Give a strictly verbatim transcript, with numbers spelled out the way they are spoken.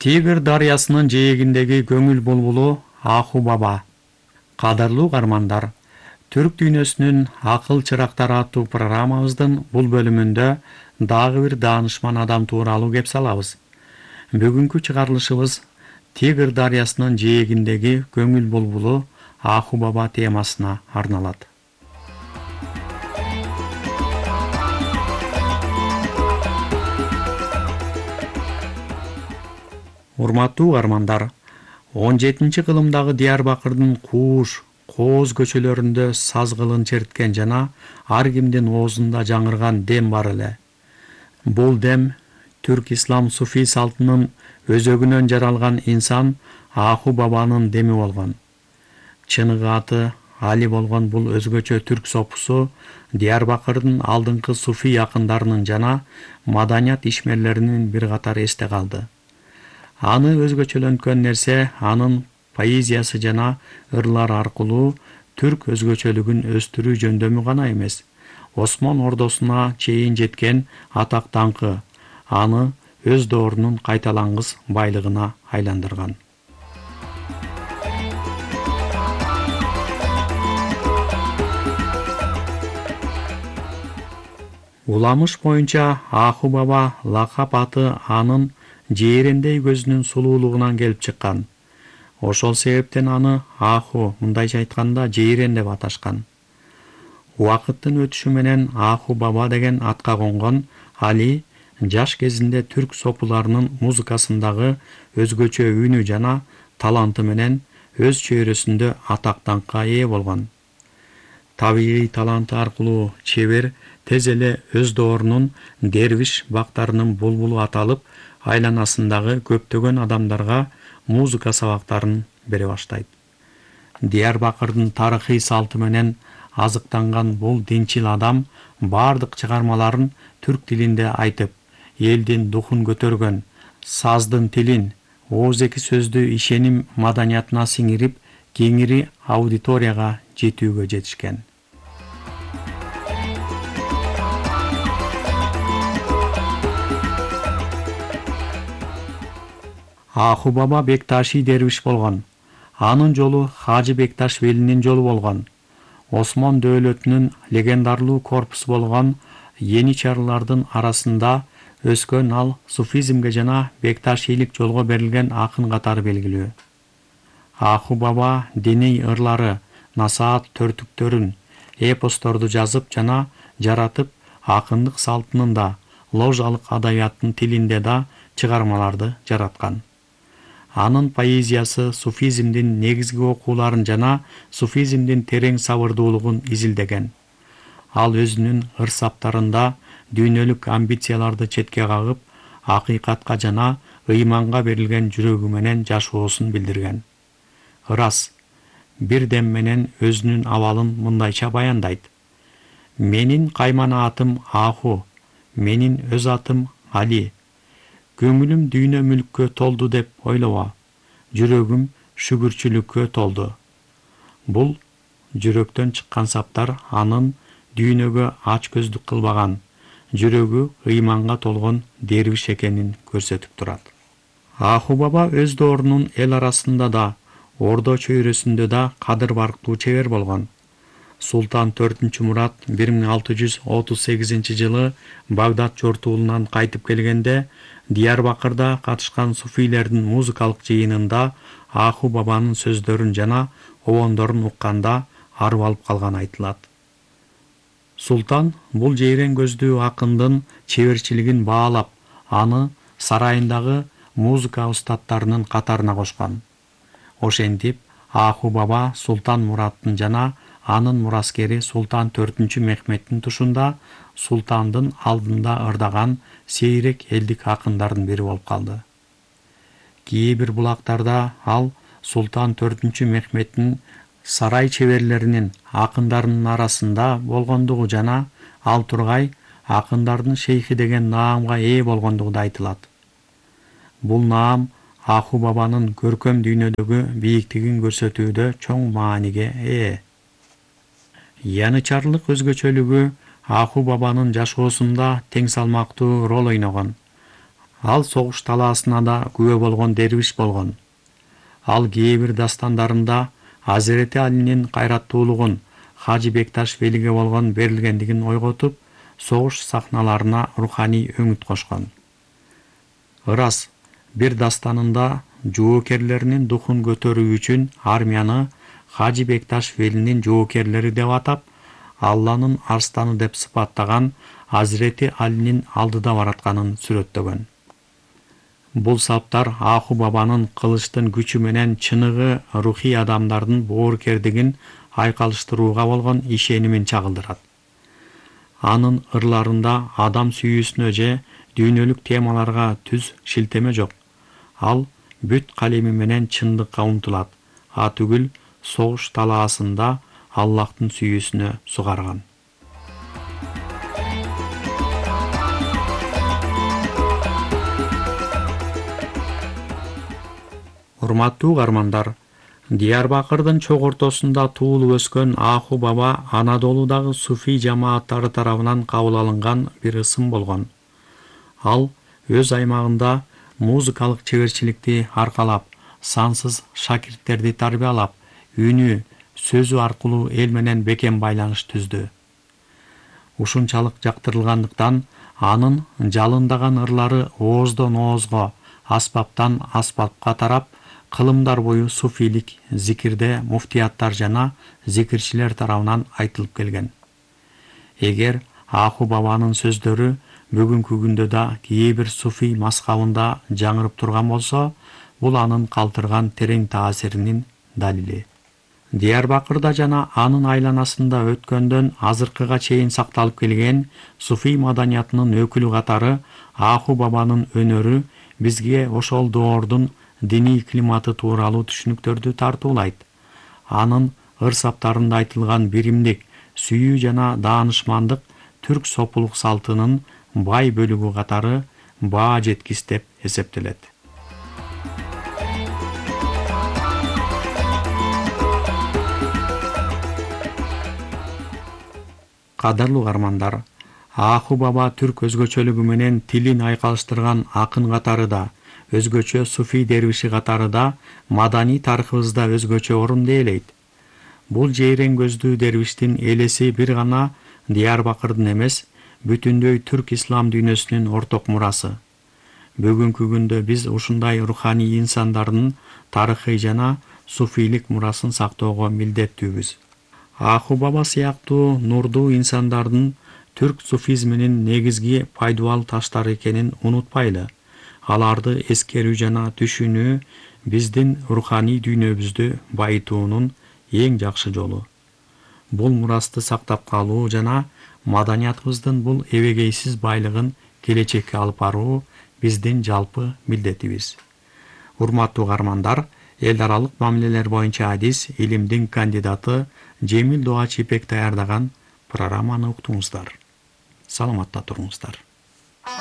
Тигр дарыясынын жээгиндеги көңүл булбулу Аху Баба. Кадырлуу угармандар, Түрк дүйнөсүнүн акыл чырактары аттуу программабыздын бул бөлүмүндө дагы бир даанышман адам тууралуу кеп салабыз. Бүгүнкү чыгарылышыбыз Тигр дарыясынын жээгиндеги көңүл булбулу Аху Баба темасына арналат. Урматтуу угармандар, он жетинчи кылымдагы Диярбакырдын Кууш, Кооз көчөлөрүндө саз кылын черткен жана ар кимдин оозунда жаңырган дем бар эле. Бул дем түрк ислам суфий салтынын өзөгүнөн жаралган инсан Аху Бабанын деми болгон. Чыныгы аты Али болгон бул өзгөчө түрк сопусу Диярбакырдын алдыңкы суфий акындарынын жана маданият ишмерлеринин бир катары эсте калды. Аны өзгөчөлөнткөн нерсе анын поэзиясы жана ырлар аркылуу түрк өзгөчөлүгүн өстүрүү жөндөмү гана эмес, Осмон ордосуна чейин жеткен атак даңкы аны өз доорунун кайталангыс байлыгына айландырган. Уламыш боюнча Аху Баба лакап аты анын жээрендей көзүнүн сулуулугунан келип чыккан. Ошол себептен аны Аху, мындайча айтканда, жээрен деп аташкан. Убакыттын өтүшү менен Аху Баба деген атка конгон Али жаш кезинде түрк сопуларынын музыкасындагы өзгөчө үнү жана таланты менен өз чөйрөсүндө атак даңкка ээ болгон. Табигый таланты аркылуу чебер тез эле өз доорунун дервиш бактарынын булбулу аталып, айланасындагы көптөгөн адамдарга музыка сабактарын бере баштайт. Диярбакырдын тарыхый салты менен азыктанган бул динчил адам бардык чыгармаларын түрк тилинде айтып, элдин духун көтөргөн, саздын тилин, ооз-эки сөздү ишеним маданиятына сиңирип, кеңири аудиторияга жетүүгө жетишкен. Аху Баба Бекташи дервиш болгон. Анын жолу Хажы Бекташ Велинин жолу болгон. Осмон дөөлөтүнүн легендарлуу корпусу болгон Еничарлардын арасында өскөн ал суфизмге жана бекташилик жолго берилген акын катары белгилүү. Аху Баба диний ырлары, насаат төртүктөрүн, эпосторду жазып жана жаратып, акындык салтынын да, ложалык адабияттын тилинде да чыгармаларды жараткан. Анын поэзиясы суфизмдин негизги окууларын жана суфизмдин терең сабырдуулугун изилдеген. Ал өзүнүн ыр-саптарында дүйнөлүк амбицияларды четке кагып, акыйкатка жана ыйманга берилген жүрөгү менен жашоосун билдирген. Ырас, бир дем менен өзүнүн абалын мындайча баяндайт. Менин каймана атым Аху, менин өз атым Али. Көңүлүм дүйнө мүлккө толду деп ойлоба, жүрөгүм шүгүрчүлүккө толду. Бул жүрөктөн чыккан саптар анын дүйнөгө ач көздүк кылбаган, жүрөгү ыйманга толгон дервиш экенин көрсөтүп турат. Аху Баба өз доорунун эл арасында да, Ордо чөйрөсүндө да кадыр барктуу чебер болгон. Султан төртүнчү Мурат бир миң алты жүз отуз сегизинчи жылы Багдад жортуулунан кайтып келгенде Диярбакырда катышкан суфийлердин музыкалык жыйынында Аху Бабанын сөздөрүн жана обондорун укканда арып алып калганы айтылат. Султан бул жейрен көздүү акындын чеберчилигин баалап, аны сарайындагы музыка устаттарынын катарына кошкон. Ошентип, Аху Баба Султан Мураттын жана анын мураскери Султан төртүнчү Мехметтин тушунда султандын алдында ырдаган сейрек элдик акындардын бири болуп калды. Кээ бир булактарда ал Султан төртүнчү Мехметтин сарай чеберлеринин акындарынын арасында болгондугу жана ал тургай акындардын шейхи деген наамга ээ болгондугу да айтылат. Бул наам Аху Бабанын көркөм дүйнөдөгү бийиктигин көрсөтүүдө чоң мааниге ээ. Янычарлык өзгөчөлүгү Аху Бабанын жашоосунда тең салмактуу роль ойногон. Ал согуш талаасына да күбө болгон дервиш болгон. Ал кээ бир дастандарында Азирети Алинин кайраттуулугун Хажы Бекташ Велиге болгон берилгендигин ойготуп, согуш сахналарына руханий өңүт кошкон. Ырас бир дастанында жоокерлеринин духун көтөрүү үчүн армияны Хажы Бекташ Велинин жоокерлери деп атап, Алланын арстаны деп сыпаттаган Азирети Алинин алдыда баратканын сүрөттөгөн. Бул саптар Аху бабанын кылычтын күчү менен чыныгы рухий адамдардын боорукердигин айкалыштырууга болгон ишенимин чагылдырат. Анын ырларында адам сүйүүсүнө же дүйнөлүк темаларга түз шилтеме жок. Ал бүт калеми менен чындыкка умтулат, а түгүл согуш талаасында Аллахтын сүйүүсүнө сугарган. Урматтуу угармандар, Диярбакырдын чок ортосунда туулуп өскөн Аху баба Анадолудагы суфий жамааттары тарабынан кабыл алынган бир ысым болгон. Ал өз аймагында музыкалык чеберчиликти аркалап, сансыз шакирттерди тарбиялап, үнү, сөзү аркылуу эл менен бекем байланыш түздү. Ушунчалык жактырылгандыктан анын жалындаган ырлары ооздон оозго, аспаптан аспапка тарап, кылымдар бою суфийлик зикирде муфтияттар жана зикирчилер тарабынан айтылып келген. Эгер Аху бабанын сөздөрү бүгүнкү күндө да кээ бир суфий маскабында жаңырып турган болсо, бул анын калтырган терең таасиринин далили. Диярбакырда жана анын айланасында өткөндөн азыркыга чейин сакталып келген суфий маданиятынын өкүлү катары Аху бабанын өнөрү бизге ошол доордун диний климаты тууралуу түшүнүктөрдү тартуулайт. Анын ыр-саптарында айтылган биримдик, сүйүү жана даанышмандык түрк сопулук салтынын бай бөлүгү катары баа жеткис деп эсептелет. Кадырлуу угармандар, Аху баба түрк өзгөчөлүгү менен тилин айкалыштырган акын катары да, өзгөчө суфий дервиши катары да маданий тарыхыбызда өзгөчө орун ээлейт. Бул жейрен көздүү дервиштин элеси бир гана Диярбакырдын эмес, бүтүндөй түрк ислам дүйнөсүнүн орток мурасы. Бүгүнкү күндө биз ушундай руханий инсандардын тарыхый жана суфийлик мурасын сактоого милдеттүүбүз. Аху баба сыяктуу нурдуу инсандардын түрк суфизминин негизги пайдубал таштары экенин унутпайлы. Аларды эскерүү жана түшүнүү биздин руханий дүйнөбүздү байытуунун эң жакшы жолу. Бул мурасты сактап калуу жана маданиятыбыздын бул эбегейсиз байлыгын келечекке алып баруу биздин жалпы милдетибиз. Урматтуу угармандар, эл аралык мамилелер боюнча адис илимдин кандидаты Жемил Дооч Ипек даярдаган программаны уктуңуздар. Саламатта туруңуздар.